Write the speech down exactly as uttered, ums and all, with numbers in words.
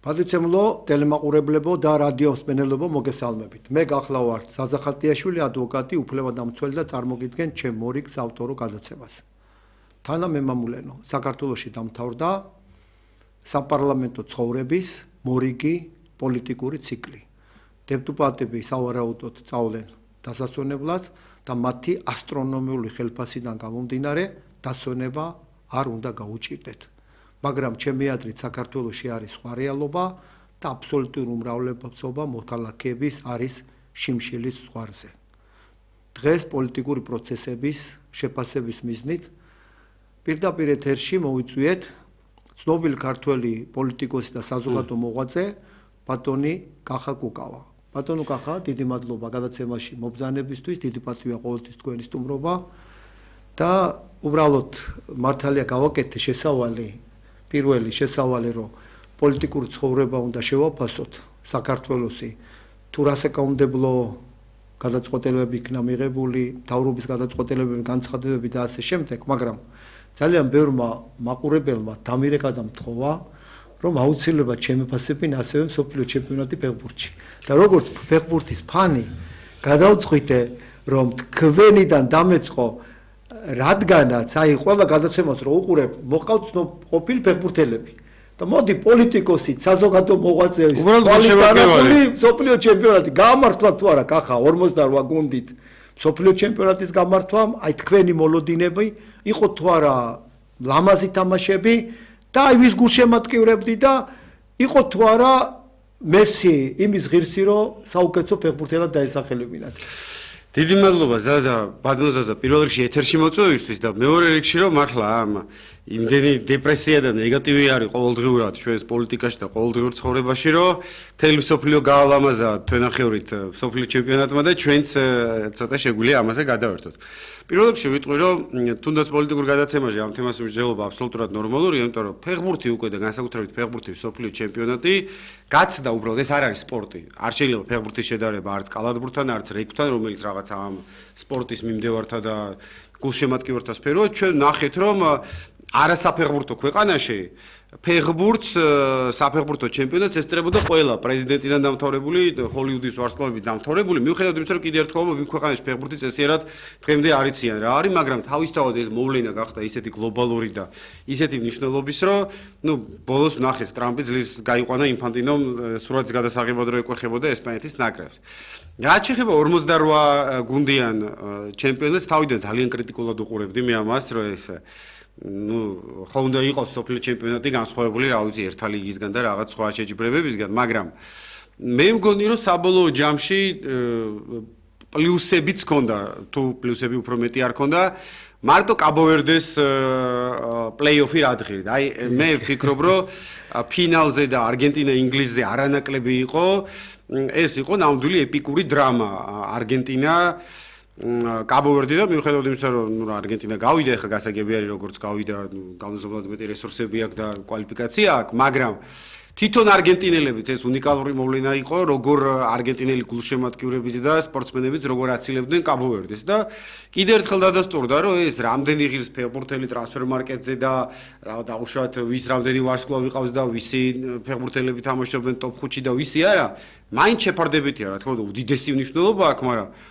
Პატრიცემლო, ტელემაყურებლებო და რადიო მსმენელებო მოგესალმებით. მე გახლავართ ზაზახალტიაშვილი, ადვოკატი, უფლებადამცველი და წარმოგიდგენ ჩემ მორიგ საავტორო გადაცემას. თანამემამულენო, საქართველოში დამთავრდა საპარლამენტო ცხოვრების მორიგი პოლიტიკური ციკლი. დეპუტატები სავარაუდოდ წავლენ დასასვენებლად და მათი ასტრონომიული ხელფასიდან გამომდინარე დასვენება არ უნდა გაუჭირდეთ. მაგრამ ჩემი აზრით საქართველოში არის სხვა რეალობა და აბსოლუტური უმრავლესობა მოქალაქეების არის შიმშილის ზღვარზე. დღეს პოლიტიკური პროცესების შეფასების მიზნით პირდაპირ ეთერში მოვიწვიეთ ცნობილი ქართველი პოლიტიკოსი და საზოგადო მოღვაწე ბატონი კახა კუკავა. ბატონო კახა, დიდი მადლობა გადაცემაში მობრძანებისთვის, დიდი პატივია ყოველთვის თქვენი სტუმრობა და უბრალოდ მართალია გავაკეთე შესავალი პირველი შესავალი რომ პოლიტიკური ცხოვრება უნდა შევაფასოთ საქართველოსი თუ რა საკანონმდებლო გადაწყვეტილებები იქნა მიღებული, მთავრობის გადაწყვეტილებები, განცხადებები და ასე შემდეგ, მაგრამ ძალიან ბევრმა მაყურებელმა დამირეკა და მთხოვა რომ აუცილებლად შემეფასებინ ასევე მსოფლიო ჩემპიონატი ფეხბურთში. და როგორც ფეხბურთის ფანი გადავწყვიტე რომ თქვენიდან დამეწყო რადგანაც აი ყველა გადაცემას რო უყურებ, მოყავთ ყოფილი ფეხბურთელები. და მოდი პოლიტიკოსი, საზოგადო მოღვაწე, კვალიფიკებული მსოფლიო ჩემპიონატი გამართლა თუ არა კახა ორმოცდარვა გუნდით მსოფლიო ჩემპიონატის გამართვამ, აი თქვენი მოლოდინები იყო თუ არა ლამაზი თამაშები და აი ვის გულშემატკივრებდი და იყო თუ არა მესი იმის ღირსი რომ საუკეთესო ფეხბურთელად დაესახელებინათ. დიდი მადლობა ზაზა, ბატონო ზაზა, პირველ რიგში ეთერში მოწვევისთვის და მეორე რიგში რომ მართლა ამ იმდენი დეპრესია და ნეგატივი არის ყოველდღიურად ჩვენს პოლიტიკაში და ყოველდღიურ ცხოვრებაში, რომ მთელი მსოფლიო გაალამაზა თვენახევრით მსოფლიო ჩემპიონატმა და ჩვენც ცოტა შეგვიძლია ამაზე გადავერთოთ. პირველ რიგში ვიტყვი რომ თუნდაც პოლიტიკურ გადაცემაში ამ თემას მსჯელობა აბსოლუტურად ნორმალურია, იმიტომ რომ ფეხბურთი უკვე და განსაკუთრებით ფეხბურთი მსოფლიო ჩემპიონატი გაცდა უბრალოდ ეს არ არის სპორტი. არ შეიძლება ფეხბურთის შედარება არც კალათბურთთან, არც რეգბთან, რომელიც რაღაც ამ სპორტის მიმდევართა და გულშემატკივრთა სფეროა. ჩვენ ნახეთ რომ არასაფეხბურთო ქვეყანაში ფეხბურთს საფეხბურთო ჩემპიონატს ესწრებოდა ყველა პრეზიდენტიდან დამთავრებული, ჰოლივუდის ვარსკვლავებით დამთავრებული, მიუხედავად იმისა, რომ კიდევ ერთხელ იმ ქვეყანაში ფეხბურთი წესიერად დღემდე არ იციან რა არის, მაგრამ თავისთავად ეს მოვლენა გახდა ისეთი გლობალური და ისეთი მნიშვნელობის, რომ ნუ ბოლოს ნახეთ ტრამპი ძლივს გაიყვანა ინფანტინომ სურათის გადასაღებად რო ეკვეხებოდა ესპანეთის ნაკრებს. რაც შეეხება ორმოცდარვა გუნდიან ჩემპიონატს, თავიდან ძალიან კრიტიკულად უყურებდი მე ამას, რომ ეს ну, ხო უნდა იყოს სოფლიო ჩემპიონატი განსხვავებული, რა ვიცი, ერთა ლიგისგან და რაღაც სხვა შეჯიბრებებისგან, მაგრამ მე მგონი რომ საბოლოო ჯამში პლუსებიც ჰქონდა, თუ პლუსები უფრო მეტი არ ჰქონდა, მარტო კაბო-ვერდეს პლეი-ოფი რა დღირით. აი მე ვფიქრობ, რომ ფინალზე და არგენტინა ინგლისზე არანაკლები იყო, ეს იყო ნამდვილი ეპიკური დრამა. არგენტინა კაბო-ვერდი და მიუხედავად იმისა, რომ არგენტინა გავიდა, ეხლა გასაგები არის როგორც გავიდა, განუზომლად მეტი რესურსები აქვს და კვალიფიკაცია აქვს, მაგრამ თვითონ არგენტინელებიც ეს უნიკალური მოვლენა იყო, როგორ არგენტინელი გულშემატკივრებიც და სპორტსმენებიც როგორ აცილებდნენ კაბო-ვერდეს და კიდევ ერთხელ დადასტურდა, რომ ეს რამდენი ღირს ფეხბურთელი ტრანსფერ მარკეტზე და რა დაუშვათ ვის რამდენი ვარსკვლავი ყავს და ვისი ფეხბურთელები თამაშობენ ტოპ ხუთში და ვისი არა, მაინც შეფარდებითია, რა თქმა უნდა, უდიდესი მნიშვნელობა აქვს, მაგრამ